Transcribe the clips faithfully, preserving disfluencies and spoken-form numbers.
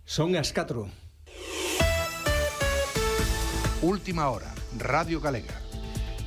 Son as catro. Última hora, Radio Galega.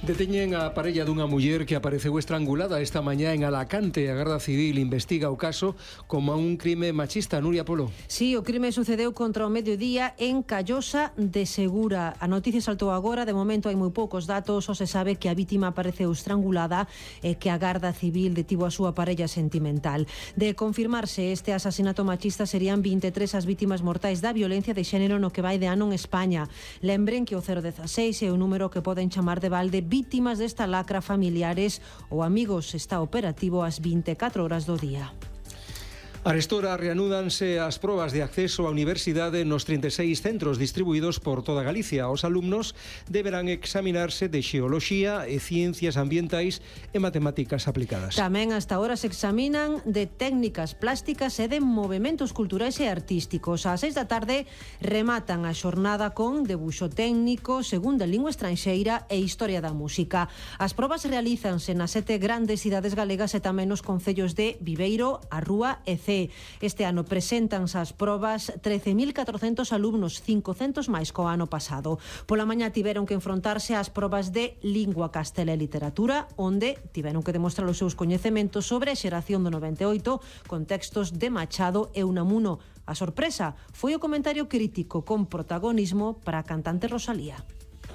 Deteñen a parella dunha muller que apareceu estrangulada esta mañá en Alacante. A Garda Civil investiga o caso como un crime machista. Nuria Polo. Sí, o crime sucedeu contra o mediodía en Callosa de Segura. A noticia saltou agora, de momento hai moi poucos datos, só se sabe que a vítima apareceu estrangulada e que a Garda Civil detivo a súa parella sentimental. De confirmarse este asasinato machista, serían vinte e tres as vítimas mortais da violencia de xénero no que vai de ano en España. Lembren que o cero dieciséis é o número que poden chamar de balde vítimas desta lacra, familiares ou amigos. Está operativo ás vinte e catro horas do día. Arestora reanúdanse as probas de acceso á universidade nos trinta e seis centros distribuídos por toda Galicia. Os alumnos deberán examinarse de xeoloxía e ciencias ambientais e matemáticas aplicadas. Tamén hasta ahora se examinan de técnicas plásticas e de movementos culturais e artísticos. Ás seis da tarde rematan a xornada con debuxo técnico, segunda lingua estranxeira e historia da música. As probas realízanse nas sete grandes cidades galegas e tamén nos concellos de Viveiro, A Rúa e Cee. Este ano preséntanse as probas trece mil catrocentos alumnos, cincocentos máis co ano pasado. Pola mañá tiveron que enfrontarse ás probas de lingua, castela e literatura, onde tiveron que demostrar os seus coñecementos sobre a xeración do noventa e oito con textos de Machado e Unamuno. A sorpresa foi o comentario crítico con protagonismo para a cantante Rosalía.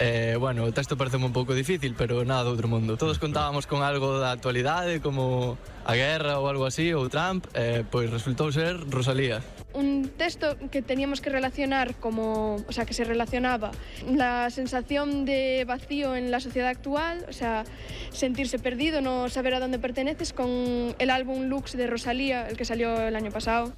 Eh, bueno, o texto parece un pouco difícil, pero nada do outro mundo. Todos contábamos con algo da actualidade, como a guerra ou algo así, ou Trump, eh, pois resultou ser Rosalía. Un texto que teníamos que relacionar como, o sea, que se relacionaba la sensación de vacío en la sociedad actual, o sea, sentirse perdido, no saber a dónde perteneces, con el álbum Lux de Rosalía, el que salió el año pasado.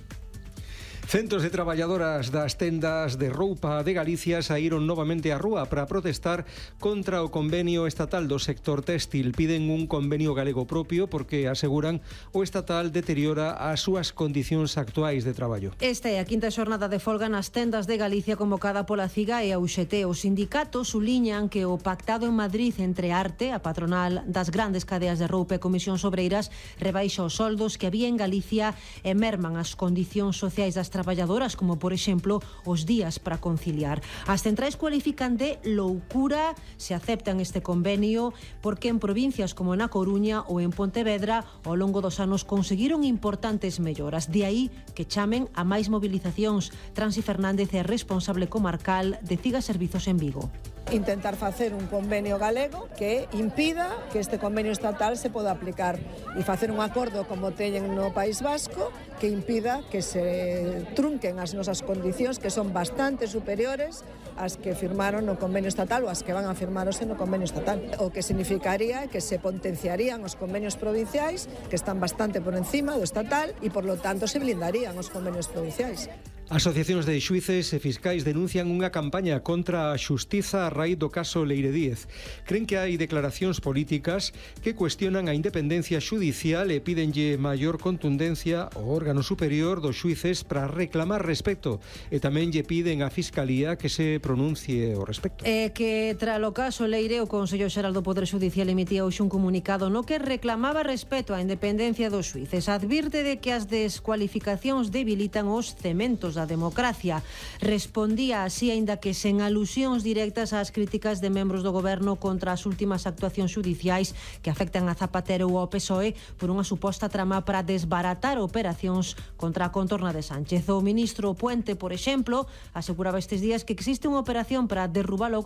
Centos de traballadoras das tendas de roupa de Galicia saíron novamente á rúa para protestar contra o convenio estatal do sector téxtil. Piden un convenio galego propio porque aseguran o estatal deteriora as súas condicións actuais de traballo. Esta é a quinta xornada de folga nas tendas de Galicia convocada pola CIGA e a U X T. Os sindicatos suliñan que o pactado en Madrid entre Arte, a patronal das grandes cadeas de roupa e Comisións Obreiras, rebaixa os soldos que había en Galicia e merman as condicións sociais das traballadoras, como por exemplo os días para conciliar. As centrais cualifican de loucura se aceptan este convenio porque en provincias como na Coruña ou en Pontevedra ao longo dos anos conseguiron importantes melloras. De aí que chamen a máis movilizacións. Transi Fernández é responsable comarcal de CIGA Servizos en Vigo. Intentar facer un convenio galego que impida que este convenio estatal se poda aplicar e facer un acordo como teñen no País Vasco que impida que se trunquen as nosas condicións, que son bastante superiores ás que firmaron no convenio estatal ou as que van a firmarose no convenio estatal. O que significaría que se potenciarían os convenios provinciais, que están bastante por encima do estatal, e por lo tanto se blindarían os convenios provinciais. Asociacións de xuíces e fiscais denuncian unha campaña contra a xustiza a raíz do caso Leire Díez. Cren que hai declaracións políticas que cuestionan a independencia xudicial e pídenlle maior contundencia ao órgano superior dos xuíces para reclamar respecto, e tamén lle piden á Fiscalía que se pronuncie ao respecto. É que tras o caso Leire, o Consello Xeral do Poder Xudicial emitía hoxe un comunicado no que reclamaba respeto á independencia dos xuíces. Advirte de que as descualificacións debilitan os cementos da democracia. Respondía así, aínda que sen alusións directas ás críticas de membros do goberno contra as últimas actuacións xudiciais que afectan a Zapatero ou ao P S O E por unha suposta trama para desbaratar operacións contra a contorna de Sánchez. O ministro Puente, por exemplo, aseguraba estes días que existe unha operación para derrubar o